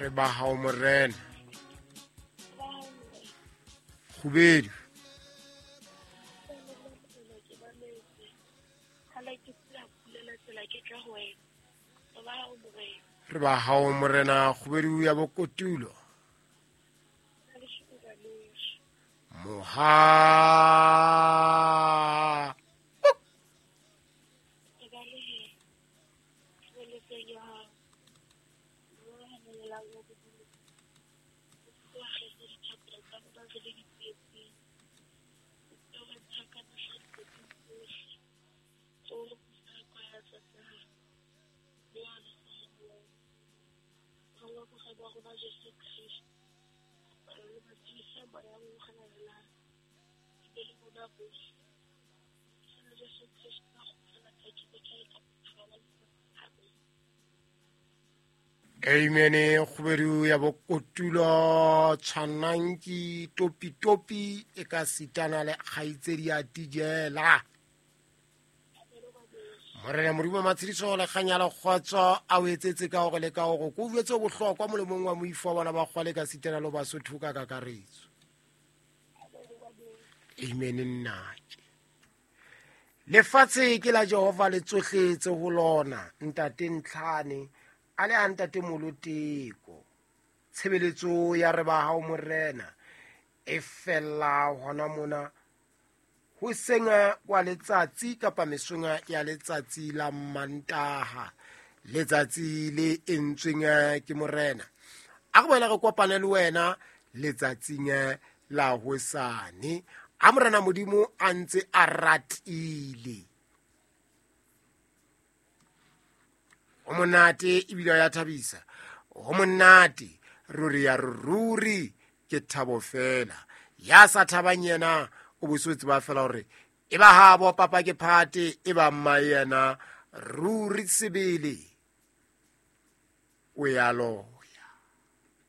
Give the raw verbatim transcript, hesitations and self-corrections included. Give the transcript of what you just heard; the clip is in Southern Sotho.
Re ba hao morena. Kgubedu. Re ba hao morena kgubedu ya bokotulo. Moha. Amen. Kgubedu ya bokotulo tshwananki topi topi e ka sitana le kgaitsedi ya tijela. Morena Modimo matshediso le kganya le kgotso a o etsetse ka hore le ka hore ko jwetse bohlokwa molemong wa moifo wa bana ba kgwale ka sitana le Basotho ka kakaretso. Amen. Nnake lefatshe ke la Jehova le tsohle tse ho lona. Ntate Ntlhane a le a ntate Moloteko. Tshebeletso ya re ba hao morena e fella hona mona hoseng wa letsatsi kapa mesong ya letsatsi la Mantaha, letsatsi le entsweng ke morena. A re boela re kopane le wena letsatsing la hosane. A morena Modimo a ntse a ratile. O monate ebile ya thabisa. O monate ruri ya ruri ke thabo fela. Ya sa thabang yena o bosotse ba fela hore e ba habo papa ke phate e ba mma yena ruri sebele o ya loya.